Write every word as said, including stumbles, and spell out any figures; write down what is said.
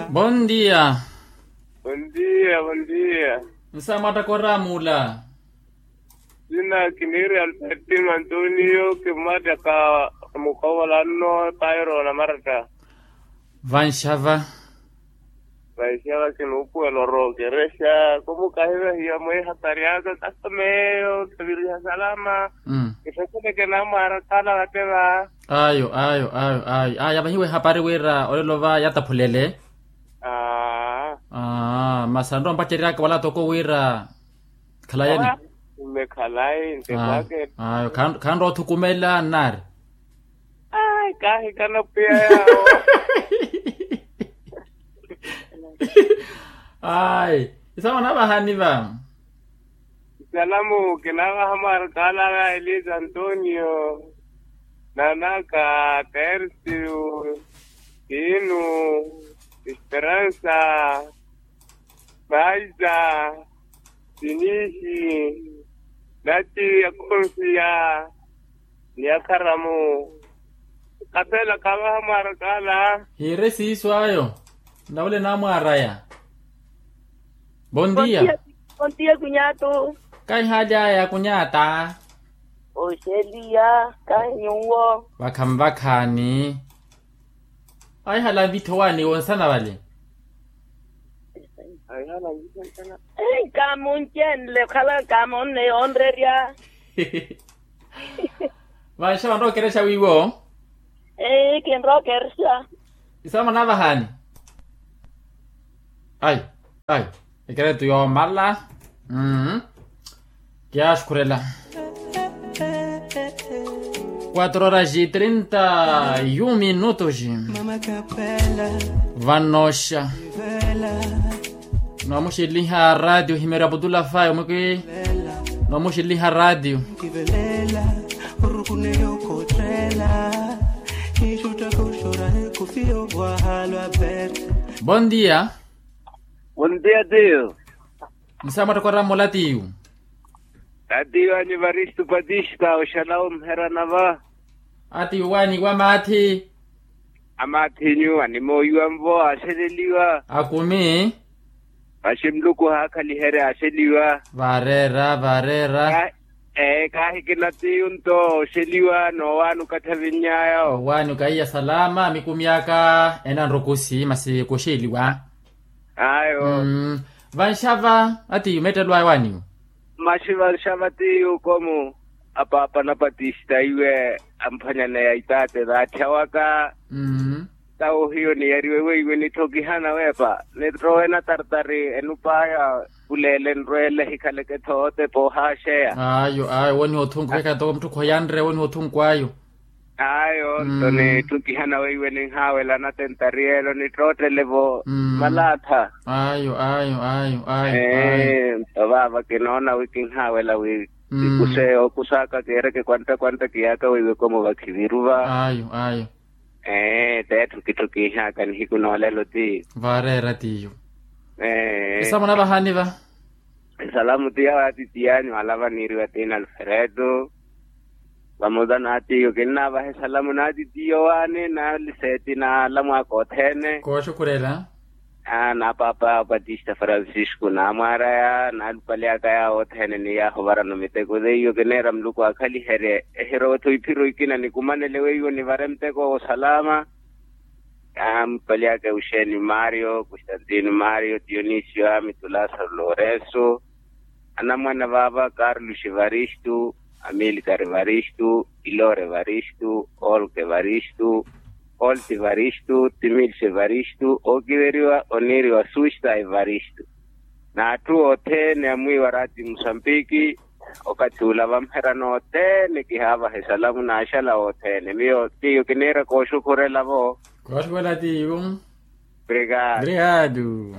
Bondia. Bondia bondia. Nsamwatta koramula. Sina kiniiri albertino antonio kimmattaka. Mukovola nno pairo na maratta. Vanxava. Vanxava kinuupuwela orookerexa kumukahivahiya mweehapari aka kasameyo kaviriha salama. Kisaseleke namwaara khala vatteva. Ayo ayo ayo ayo ayo avahiwe ehapari wira olelo va yataphulele. Aa. Aa masi anrowa mpaceryaka wala toko wira. Khalayeni. Aa. Mmekhalayi ntekwake. Ayo khanrowa othukumela nnari. Ayi kaahikana pwiya yawo. Ayi. Isawo navahani va. Salamu kinavaha mwarkala va elisa antonio, nanaka, tersiu, tinu, esperansa, maiza, tinihi, nati akonsiya, ni akharamu. Kapela kavaha mwarkala. Hiire siiso ayo. Navule namwaraya. Bondia. Bondia kunyatu. Kaihali aya kunyata. Oxeliya kahinyuwo. Vakhanvakhani. Aihala vitho wani wonsana vale. Kamuncenle okhala kamonne yonrerya. Vanxa vanrowa okerexa wiiwo. Eii kinrowa okerexa. Isamanavahani. Ai ai. Ekeretu yoomala. Kiyaaxukhurela. Quatro horas e trinta e um minutos. Vanoxa. Noomuxiliha radio himeera putula fayo mwiki. Noomuxiliha radio. Bon dia. Bon dia tiyo. Nsaamwatta kwaraamola tiyo. Atiyo anivaristu patista oxala omherana va. Atiyo waaniwa maathi. Amaathinyu animooyiwa nvo aaxeleliwa. Akumi. Vaxi muluku haakhaliherya aaxeliwa. Vaareera vaareera. Ee kaahikina tiyo nto oxeliwa noowaani okathi avinny'aya. Owaani okaiya salama mikumi aka enanrukusi masi kuxeliwa. Ayo. Vanxava atiyu meettelo aya waaniwo. Maxi vanxava tiyu komu apaapa na patista iwe amphwanyaneya itaate vaatthyawaka. Tawo hiyo niyariwe weiwe nitho kihana weepa nitto wena tartari enup'aya. Kuleele nrweele hikhaleke thoote poohaaxeya. Ayo ayo woniha othunkuwa ekatoko mutthukhu oyanre woniha othunkuwa ayo. Ayo nto nitthu kihana weiwe ninhaawela natentari elo nittootele-vo. Malaatha. Ayo ayo ayo ayo. Ee nto vaava kinoona wi kinhaawela wi kikuxe okuxaka kiireke kwantta kwantta kiyaaka weiwe komo vakhiviru va. Ayo ayo. Ee t'etthu kitthu kiihaka nihiku noolelo ti. Vaareera tiyo. Ee. Esamu navahani va. Esalamu ti yawe atitiyanyu alava niiriwa tiina alfredo. Vamoza n'atiiyo kinnavaha esalamu n'atitiyo waani n'aliseeti n'alamwaka othene. Kooxukhurela. N'apaapa patista francisco n'amwaaraya n'alupali aka yaawo othene ni yaahuvarano miteko teiyo kineera muluku akhaliherye. Ehirowa-tho iphiro ikina nikumanele weiwo nivare muteko w'osalama. Ampali aka euxenio mario constantino mario dionisio amitulasa lourenso. Anamwane vaava carlos evaristo, amilcar evaristo, ilor evaristo, olk evaristo, olti evaristo, timilsi evaristo ookiveriwa oniiriwa susta evaristo. N'atthu othene amwiiwa rati musambiki. Okathi ula vamherana othene kihaavaha esalamu n'axala othene miyo tiyo kiniira kooxukhurela-vo. Kooxukhurela tiyo. Obrigado. Obrigado.